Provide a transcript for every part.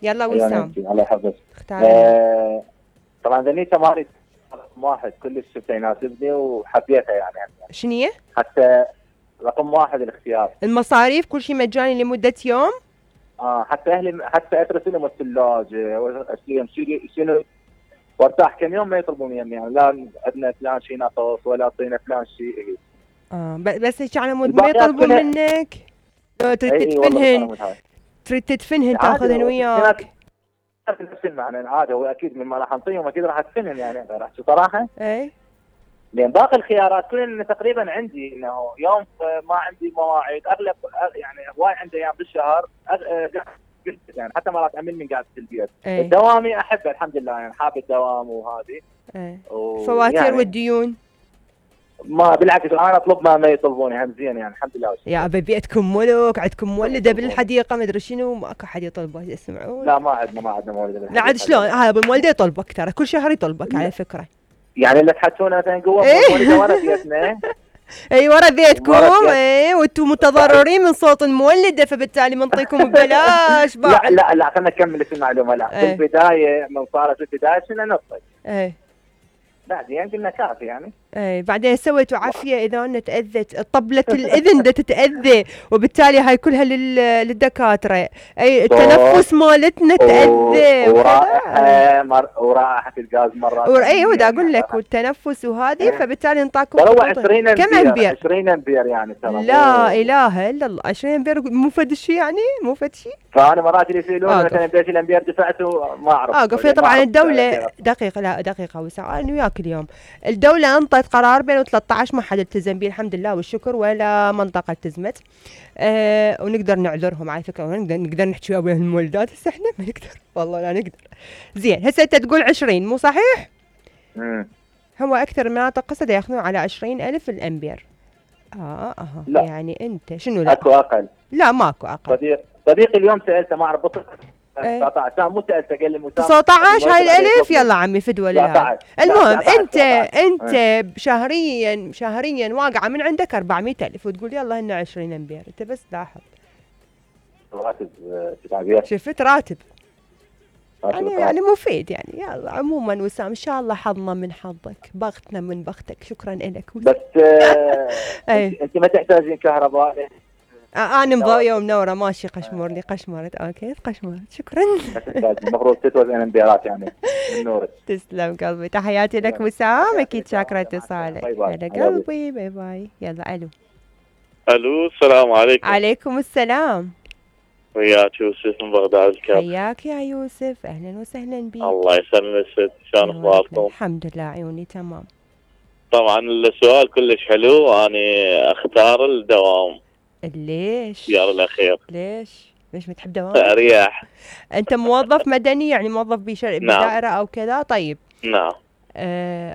يلا وسام الله يحفظك. اختار لنا. طبعا ذنيته مالي رقم واحد كلش شفته يناسبني وحبيتها يعني. شنية؟ حتى رقم واحد الاختيار. المصاريف كل شيء مجاني لمدة يوم؟ حتى اهلي حتى اترسل لهم الثلاجة شنو وارتاح كم يوم ما يطلبون يعني لا عندنا فلان شيء ناقص ولا اعطينا فلان شيء. بس هيك على مود ما يطلبون منك تريد تدفنهن، تريد تدفنهن تاخذهن وياك. نفس المعنى عادي، هو اكيد مما راح نعطيهم اكيد راح ادفنهم يعني راح صراحه. اي لان باقي الخيارات كلها تقريبا عندي انه يوم ما عندي مواعيد، اغلب يعني هواي عندي ايام بالشهر يعني حتى مرات امل قاعد في البيت. دوامي احبه الحمد لله يعني حاب الدوام وهذه. فواتير يعني والديون ما بالعكس انا اطلب ما يطلبوني هم زين يعني الحمد لله. يا ابي بيتكم ملك، عندكم مولده بالحديقه ما ادري شنو، ماكو حد يطلبه يسمعون؟ لا ما عندنا مولده بالحديقه. لا عاد شلون هذا بالمولده يطلبك ترى كل شهر يطلبك على فكره. يعني اللي تحكونه مثلا جوا مولده ورا بيتنا. اي ورا بيتكم اي وانتم متضررين من صوت المولده فبالتالي بنعطيكم ببلاش بعد. لا خلينا نكمل المعلومه. لا في البدايه من صارت البدايه كنا نطلق. بعدين قلنا كافي يعني. بعدين سويتوا عافيه اذا انا تاذت طبله الاذن ده تتاذى وبالتالي هاي كلها للدكاتره. التنفس مالتنا تاذى ورائحه الغاز مرات. ايوه دا اقول لك والتنفس وهذه فبالتالي نعطاكم والله 20 امبير. كم امبير؟ 20 امبير يعني ترى. لا اله الا الله 20 امبير مو فد شيء يعني مو فد شيء. فانا مرات اللي يسالون مثلا قديش الامبير دفعته ما اعرف. قفيه طبعا الدوله دقيقه وساعه انا وياك اليوم الدوله انطت قرار ب 2013 ما حد التزم به الحمد لله والشكر ولا منطقه التزمت. ونقدر نعذرهم على فكره نقدر نحكي ويا المولدات هسه احنا ما نقدر والله لا نقدر. زين هسه انت تقول 20 مو صحيح؟ هو اكثر مناطق قصد ياخذون على 20,000 الامبير. لا. يعني انت شنو لا؟ اكو اقل. لا ماكو اقل. صديقي اليوم سالته ما اعرف 19 مو سالته قال لي 19 هاي الالف يلا عمي فدوى لله. المهم انت شهريا واقعه من عندك 400,000 وتقول يلا هن 20 امبير. انت بس لاحظ راتب شفت راتب يعني مفيد يعني. يلا عموما وسام ان شاء الله حظنا من حظك بختنا من بختك. شكرا لك بس انت ما تحتاجين كهرباء. انا مضويه ومنوره ماشي قشمرني قشمرت كيف قشمرت. شكرا. المفروض تتوزن انبيارات يعني من نورك. تسلم قلبي تحياتي لك وسام اكيد شاكره اتصالك. هلا قلبي باي باي. يلا الو السلام عليكم. عليكم السلام. وياك يوسف من بغداد الكرم. حياك يا يوسف اهلا وسهلا بك. الله يسلمك ست شلون اخباركم؟ الحمد لله عيوني تمام. طبعا السؤال كلش حلو انا اختار الدوام. ليش؟ اختيار الاخير. ليش ما تحب دوام؟ اريح. انت موظف مدني يعني موظف بدائره او كذا؟ طيب نعم.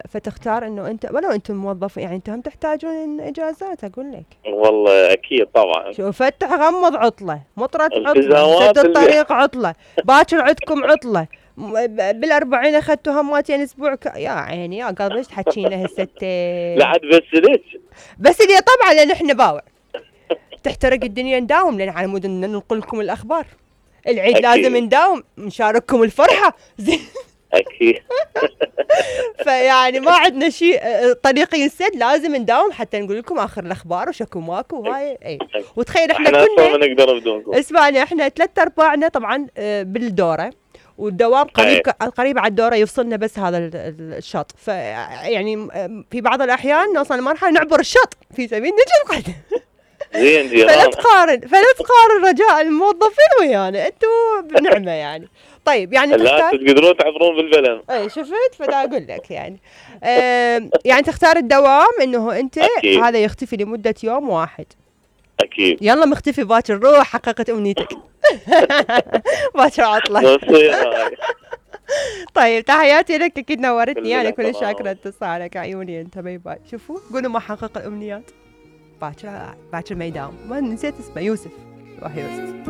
فتختار انه انت ولو انتم موظف يعني انتم اجازون اجازات اقول لك. والله اكيد طبعا. شوف فتح غمض عطله، مطرت عطله، سد الطريق عطله، باكر عندكم عطله، بالأربعين اخذتوا هماتين اسبوع يا عيني يا قلبي ايش تحكينا هسه؟ لا عاد بس لي طبعا لان احنا باوع تحترق الدنيا نداوم لان على مود ننقل لكم الاخبار. العيد أكيد. لازم نداوم نشارككم الفرحه زين اكيد. فيعني ما عندنا شيء طريق ينسد لازم نداوم حتى نقول لكم اخر الاخبار وشكو ماكو وهاي اي. وتخيل احنا كنا ما نقدر بدونكم. اسمعني احنا 3/4 طبعا بالدوره والدوام قريب على الدوره يفصلنا بس هذا الشط. فيعني في بعض الاحيان نوصل لمرحله نعبر الشط في سبيل نجي القدم. زين فلا تقارن رجاء الموظفين ويانا انتوا بنعمه يعني. طيب يعني لا تقدرون تعبرون بالبلد. اي شفت فدا اقول لك يعني يعني تختار الدوام انه انت أكيد. هذا يختفي لمده يوم واحد. اكيد. يلا مختفي باكر روح حققت امنيتك. باكر عطله. طيب تحياتي لك اكيد نورتني انا كل شاكره اتصالك عيوني انت باي باي. شوفوا قولوا ما حقق الامنيات باكر ما يداوم. ما نسيت اسمه يوسف. روح يوسف.